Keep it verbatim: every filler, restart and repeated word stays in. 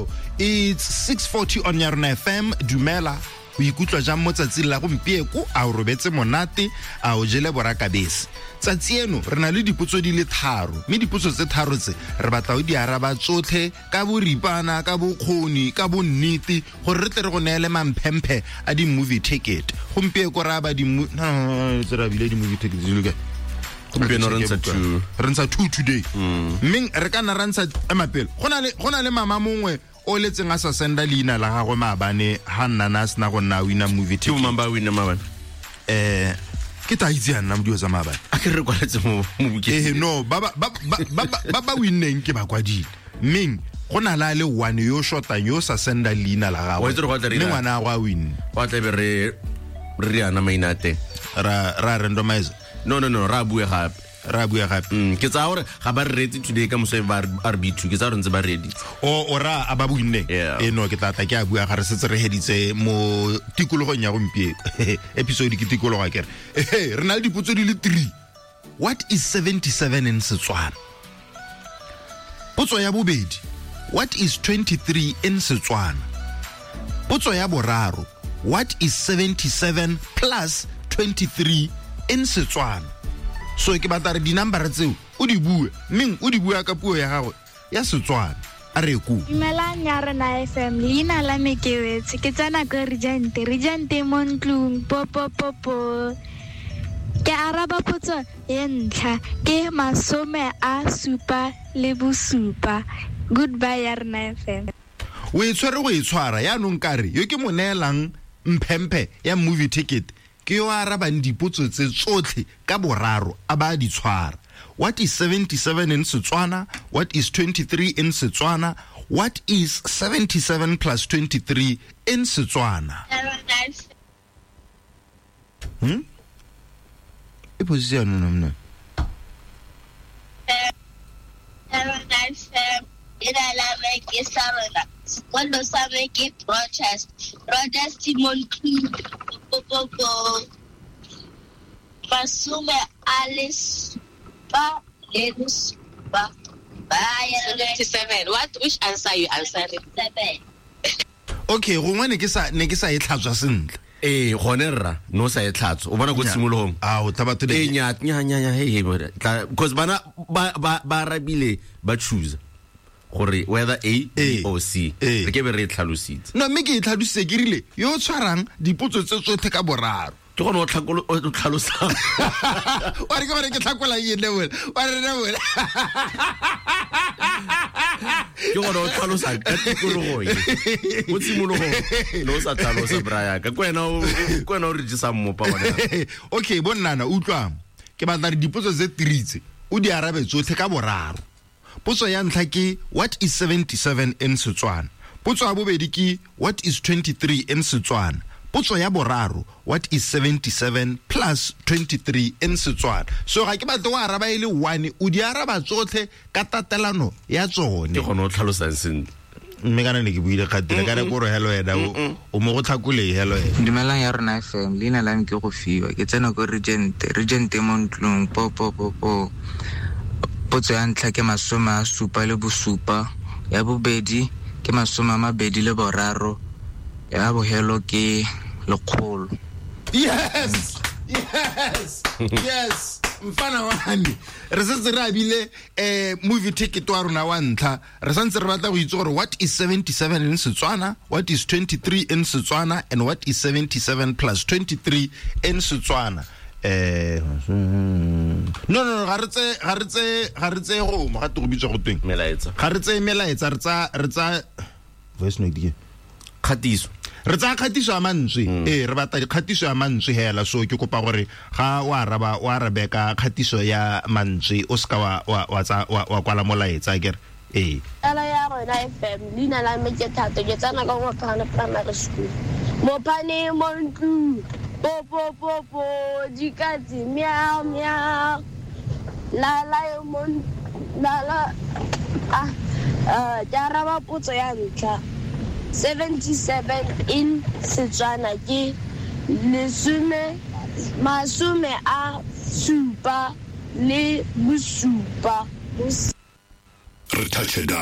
jalo. It's six forty on Yarona F M. Dumela, o ikutlwa jang mo tsatsing la gompieko? A o robetse monate? A o jele borakabese? Tsatsi eno re na le dipotso di le tharo, mme dipotso tse tharo tse re batla o di araba tsotlhe ka boripana, ka bokgoni, ka bonnete, gore re tle re go neele mamphemphe a di-movie ticket. Gompieko re aba di no no tse re abile di-movie ticket di le kae? Gompieno re ntsha two. Re ntsha two today. Mme re ka nna ra ntsha emapele. Go na le go na le mama mongwe o letseng a sa senda leina la gagwe maabane ha nna na sena go nna wina movie ticket. Ke mang ba wina maabane? Eh ke ta itse nna modio tsa maabane. A ke re kwaletse mo mo bukeng. Eh no, ba ba ba ba ba ba winneng ke ba kwadile. Mme go na la le one yo shotang yo sa senda leina la gagwe. Mme ngwana a win. Wa tla be re re ana maina teng. Ra ra randomize. No no no, ra bua gape. Ra bua gape. Mm, ke tsa gore ga ba re retse today ka moso ba R B two, ke tsa gore ntse ba ready. O o ra a ba buinne. E no ke tla tla ke a bua ga re setse re heditse mo tikologong ya gompieno. Episode ke tikologo ke re. Eh re na le dipotso di le three. What is seventy-seven in Setswana? Potso ya bobedi, what is twenty-three in Setswana? Potso ya boraro, what is seventy-seven plus twenty-three in Setswana? So ke batla re di-number tseo o di bue, mme o di bua ka puo ya gago ya Setswana. A re ku. Dumelang ya rona F M, leina la me ke Wetse, ke tsena ko Regente, Regente mo ntlong, po po po po. Ke araba potso ya ntlha, ke masome a supa le bosupa. Goodbye ya rona F M. O e tshwere go e tshwara yaanong kare yo ke mo neelang mphemphe ya movie ticket ke yo arabang dipotso tse tsotlhe ka boraro a ba di tshwara. What is seventy-seven in Setswana? What is twenty-three in Setswana? What is seventy-seven plus twenty-three in Setswana? Hmm? E position no no. seventy-seven. What, which answer you answering? Seven. Okay, gongwe ne ke sa ne ke sa e tlhatswa sentle. Eh gone rra no sa e tlhatswa. O bona go tshimologong. Ah, o tla batho le nya nya nya hey hey because bana ba ba ba rabile ba choose gore whether A B or C. Re ke be re tlhalositse. No, mme ke e tlhalositse ke rile yo tshwarang dipotso tse tsotlhe ka boraro. Ke gone o tlhakolo o tlhalosa. Wa re ke gore ke tlhakola eng le wena? Wa re le wena. Ke gone o tlhalosa ka tikologo e. Mo tshimologong no sa tlhalosa Brian. Ka kwena o kwena o re jesa mmopa gone. Okay, bonnana utlwang. Ke batla re dipotso tse three tse o di arabe tsotlhe ka boraro. Potso ya ntlha ke what is seventy-seven in Setswana? Potso ya bobedi ke what is twenty-three in Setswana? Potso ya boraro, what is seventy-seven plus twenty-three in Setswana? So ga ke batla o araba e le one, o di araba tsotlhe ka tatelano ya tsone. Ke gone o tlhalosang sentle. Mme kana ne ke buile kgatile ka re koro hello wena o mo go tlhakole hello wena. Dumelang ya rona F M, leina la me ke go fiwa, ke tsena ko Regente, Regente mo ntlong, po po po po. Potso ya ntlha ke masome a supa le bosupa, ya bobedi ke masome a mabedi le boraro, ya bohelo ke lekgolo. Yes! Yes! Yes! Mfana wa me. Re setse re abile eh movie ticket wa rona wa ntlha. Re santse re batla go itse gore what is seventy-seven in Setswana, what is twenty-three in Setswana, and what is seventy-seven plus twenty-three in Setswana. Eh no no ga re tse ga re tse ga re tse go mo ga te go bitsa go tweng melaetsa. Ga re tse melaetsa re tsa re tsa voice note ke kgatiso. Re tsaya kgatiso ya mantswe. Eh re batla dikgatiso ya mantswe hela, so ke kopa gore ga o araba o arabe ka kgatiso ya mantswe o ska wa wa tsa wa kwala molaetsa ke re eh Ala ya rona F M, leina la me ke Thato, ke tsena ka Mopane Primary School. Mopane mo ntlong. Po po po po dikatse miau miau. La la yo mo la la ah eh ke araba potso ya ntlha. seventy-seven in Setswana ke lesome masome a supa le bosupa. Re touch it.